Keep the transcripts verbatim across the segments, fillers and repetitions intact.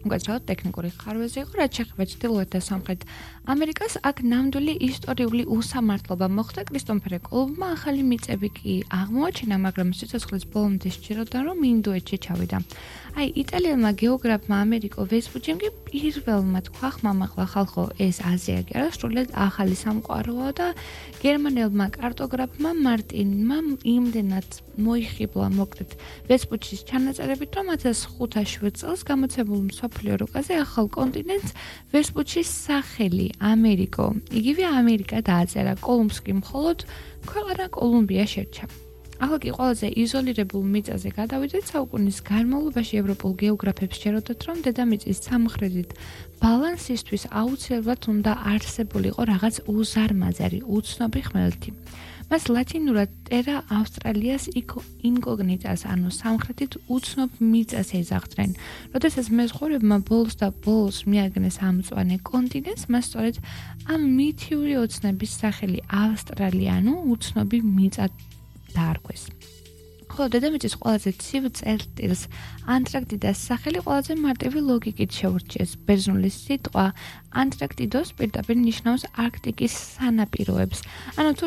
უკაცრავად ტექნიკური ხარვეზე იყო, რაც შეეხება ჩრდილოეთ და სამხრეთ ამერიკას, აქ ნამდვილი ისტორიული უსამართლობა მოხდა. კრისტოფერ კოლუმბმა ახალი მიწები კი აღმოაჩინა, მაგრამ სიცოცხლის ბოლომდე სჭიროდა, რომ ინდოეთში ჩავიდა. აი, იტალიელმა გეოგრაფმა ამერიკო ვესპუჩიმ კი პირველმა თქვა, ხმამაღლა ხალხო, ეს აზია კი არა, სრულიად ახალი სამყაროა და გერმანელმა კარტოგრაფმა მარტინმა იმდენად მოიხიბლა მოკლედ ვესპუჩის ჩანაწერებით, რომ ათას ხუთასი წელს გამოცემულ მსოფლიო რუკაზე ახალ კონტინენტს ვესპუჩის სახელი ამერიკო, იგივე ამერიკა დააწერა. კოლუმბს კი მხოლოდ ქვეყანა კოლუმბია შერჩა. ახლა კი ყველაზე იზოლირებულ მიწაზე გადავიდეთ. საუკუნის განმავლობაში ევროპულ გეოგრაფებს შეეროდათ, რომ დედამიწის სამხრეთით ბალანსისთვის აუცილებლად უნდა არსებულიყო რაღაც უზარმაზარი, უცნობი ხმელეთი. მას ლათინურად ტერა ავსტრალიას ინკოგნიტას, ანუ სამხრეთით უცნობ მიწას ეძახდნენ. როდესაც მეზღვაურებმა ბოლოს და ბოლოს მიაგნეს ამ მწვანე კონტინენტს, მას სწორედ ამ მითიური ოცნების სახელი ავსტრალია, ანუ უცნობი მიწა დაარქვეს. ხოლო დედამიწის ყველაზე ცივ წერტილს ანტარქტიდას სახელი ყველაზე მარტივი ლოგიკით შეურჩიეს. ბერძნული სიტყვა ანტარქტიდოს პირდაპირ ნიშნავს არქტიკის სანაპიროებს. ანუ თუ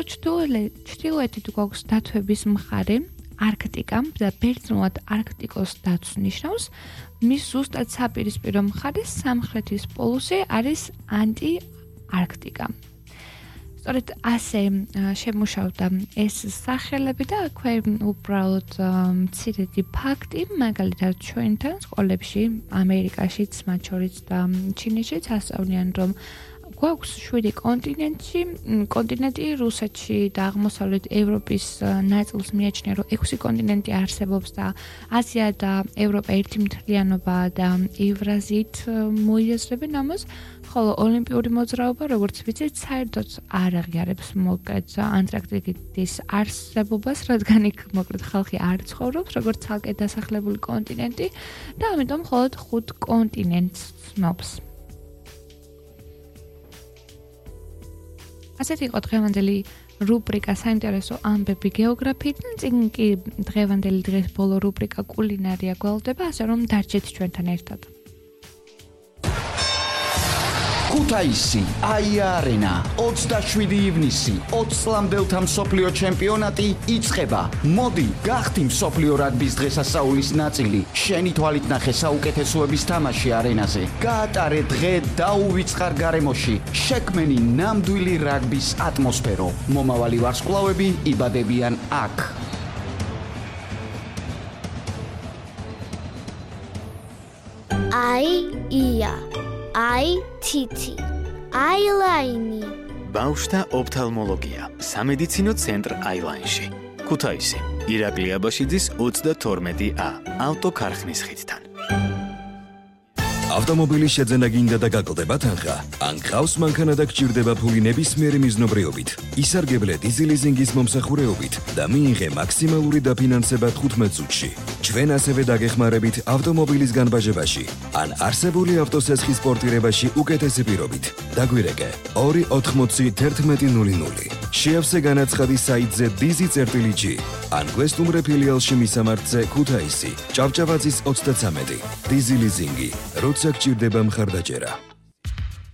ჩრდილოეთით გვაქვს დათვების მხარე, არქტიკა და ბერძნულად არქტიკოს დაცვს ნიშნავს, მის ზუსტად საპირისპირო მხარეს სამხრეთის პოლუსი არის ანტი-არქტიკა. სწორედ ასე შემუშავდა ეს სახელები და აქვე უბრალოდ მცირედი ფაქტი, მაგალითად ჩვენთან სკოლებში, ამერიკაშიც, მათ შორის და ჩინეთშიც ასწავლიან, რომ გვაქვს შვიდი კონტინენტი, კონტინენტი რუსეთში და აღმოსავლეთ ევროპის ნაწილს მიაჩნია, რომ ექვსი კონტინენტი არსებობს და აზია და ევროპა ერთი მთლიანობა და ევრაზიით მოიაზრებენ ამას. ხოლო ოლიმპიური მოძრაობა, როგორც ვიცით, საერთოდ არ აღიარებს მოკლედ ანტარქტიკის არსებობას, რადგან იქ მოკლედ ხალხი არ ცხოვრობს, როგორც ცალკე დასახლებული კონტინენტი და ამიტომ მხოლოდ ხუთ კონტინენტს ცნობს. ასეთი იყო დღევანდელი რუბრიკა საინტერესო ამბები გეოგრაფიიდან, წინ კი დღევანდელი დღეს ბოლო რუბრიკა კულინარია გვალდება, ასე რომ დარჩეთ ჩვენთან ერთად. ქუთაისი, აია-არენა, ოცდაშვიდი ივნისი, ოცი წლამდელთა მსოფლიო ჩემპიონატი იწყება. მოდი, გახდი მსოფლიო რაგბის დღესასწაულის ნაწილი. შენი თვალით ნახე საუკეთესოების თამაში არენაზე. გაატარე დღე დაუვიწყარ გარემოში. შექმენი ნამდვილი რაგბის ატმოსფერო. მომავალი ვარსკვლავები იბადებიან აქ. აი-ია აი თითი, აილაინი. ბავშვთა ოფთალმოლოგია, სამედიცინო ცენტრ აილაინში. ქუთაისი, ირაკლი აბაშიძის ოცდათორმეტი ა, ავტოქარხნის ხიდთან. ავტომობილის შეძენა გინდა და გაკლდება თანხა? ან გყავს მანქანა და გჭირდება ფული ნებისმიერი მიზნობრიობით? ისარგებლე დიზელიზინგის მომსახურეობით და მიიღე მაქსიმალური დაფინანსება თხუთმეტ წუთში. ჩვენ ასევე დაგეხმარებით ავტომობილის განბაჟებაში ან არსებული ავტოსესხის პორტირებაში უკეთესი პირობით. დაგვირეკე ორი ოთხმოცი თერთმეტი ნული ნული. შეავსე განაცხადი საიტზე დიზი წერტილი ჯი ან გვესტუმრე ფილიალში მისამართზე ქუთაისი, ჭავჭავაძის ოცდაცამეტი. დიზი ლიზინგი, როცა გჭირდება მხარდაჭერა.